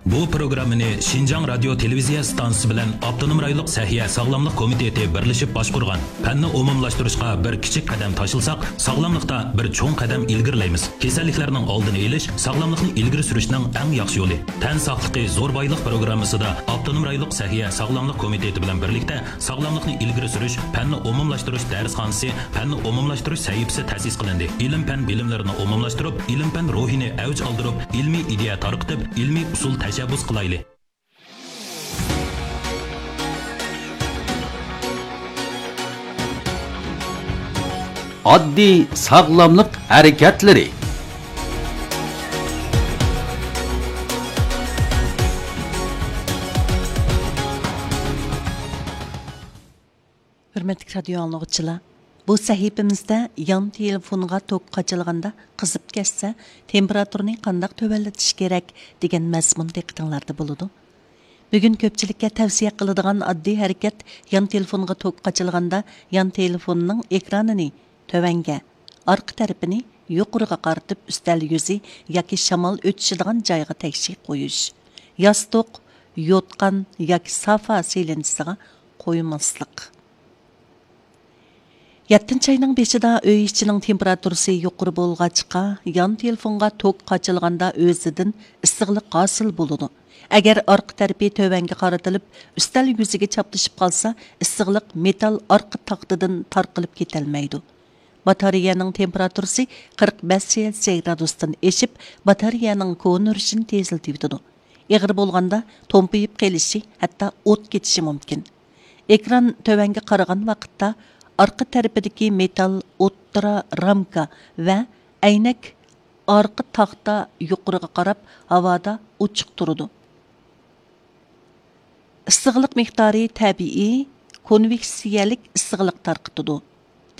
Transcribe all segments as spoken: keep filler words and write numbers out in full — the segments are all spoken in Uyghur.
بۇ پروگراممىنى شىنجاڭ رادىيو تېلېۋىزىيە ئىستانسىسى بىلەن ئاپتونوم رايونلۇق سەھىيە ساغلاملىق كومىتېتى بىرلىشىپ باشقۇرغان. پەننى ئومۇملاشتۇرۇشقا بىر كىچىك قەدەم تاشلىساق، ساغلاملىقتا بىر چوڭ قەدەم ئىلگىرىلەيمىز. كېسەللىكلەرنىڭ ئالدىنى ئېلىش ساغلاملىقنى ئىلگىرى سۈرۈشنىڭ ئەڭ ياخشى يولى. تەن ساقلىقى زور بايلىق پروگراممىسىدا ئاپتونوم رايونلۇق سەھىيە ساغلاملىق كومىتېتى بىلەن بىرلىكتە ساغلاملىقنى ئىلگىرى سۈرۈش پەننى ئومۇملاشتۇرۇش دەرسخانىسى، پەننى ئومۇملاشتۇرۇش سەھىپىسى تەسىس قىلىندى. ئىلىم-پەن بىلىملىرىنى ئومۇملاشتۇرۇپ، ئىلىم-پەن روھىنى ئەۋج ئالدۇرۇپ، ئىلمىي ئىدىيە تارقىتىپ، ئىلمىي ئۇسۇل تەشەببۇس قىلايلى. ئاددىي ساغلاملىق ھەرىكەتلىرى. ھۆرمەتلىك رادىيو ئاڭلىغۇچىلار، بۇ سەھىپىمىزدە يان تېلېفونغا توك قاچىلىغاندا قىزىپ كەتسە، تېمپېراتۇرىنى قانداق تۆۋەنلىتىش كېرەك دېگەن مەزمۇن دىققىتىڭلاردا بولىدۇ. بۈگۈن كۆپچىلىككە تەۋسىيە قىلىدىغان ئاددىي ھەرىكەت، يان تېلېفونغا توك قاچىلىغاندا يان تېلېفوننىڭ ئېكرانىنى تۆۋەنگە، ئارقا تەرىپىنى يۇقىرىغا قارىتىپ، ئۈستەل يۈزى ياكى شامال ئۆتۈشىدىغان جايغا تەكشى قويۇش. ياستۇق، يوتقان ياكى سافا سېلىنچىسىغا قويماسلىق. يەتتىنچى ئاينىڭ بېشىدا ئۆي ئىچىنىڭ تېمپېراتۇرىسى يۇقىرى بولغاچقا، يان تېلېفونغا توك قاچىلىغاندا ئۆزىدىن ئىسسىقلىق ھاسىل بولىدۇ. ئەگەر ئارقا تەرىپى تۆۋەنگە قارىتىلىپ، ئۈستەل يۈزىگە چاپلىشىپ قالسا، ئىسسىقلىق مېتال ئارقا تاختىدىن تارقىلىپ كېتەلمەيدۇ. باتارېيەنىڭ تېمپېراتۇرىسى قىرىق بەش سېلسىيە گرادۇستىن ئېشىپ، باتارېيەنىڭ كونۇرۇشىنى تېزلىتىۋېتىدۇ. ئېغىر بولغاندا تومپىيىپ قېلىشى، ھەتتا ئوت كېتىشى مۇمكىن. ئېكران تۆۋەنگە قارىغان ۋاقىتتا، ئارقا تەرىپىدىكى مېتال ئوتتۇرا رامكا ۋە ئەينەك ئارقا تاختا يۇقىرىغا قاراپ ھاۋادا ئوچۇق تۇرىدۇ. ئىسسىقلىق مىقدارى تەبىئىي كونۋېكسىيەلىك ئىسسىقلىق تارقىتىدۇ.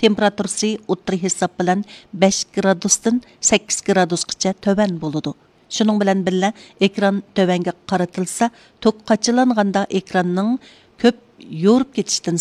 تېمپېراتۇرىسى ئوتتۇرا ھېساب بىلەن بەش گرادۇستىن سەككىز گرادۇسقىچە تۆۋەن بولىدۇ. شۇنىڭ بىلەن بىللە، ئېكران تۆۋەنگە قارىتىلسا، توك قاچىلانغاندا ئېكراننىڭ كۆپ يورۇپ كېتىشتىن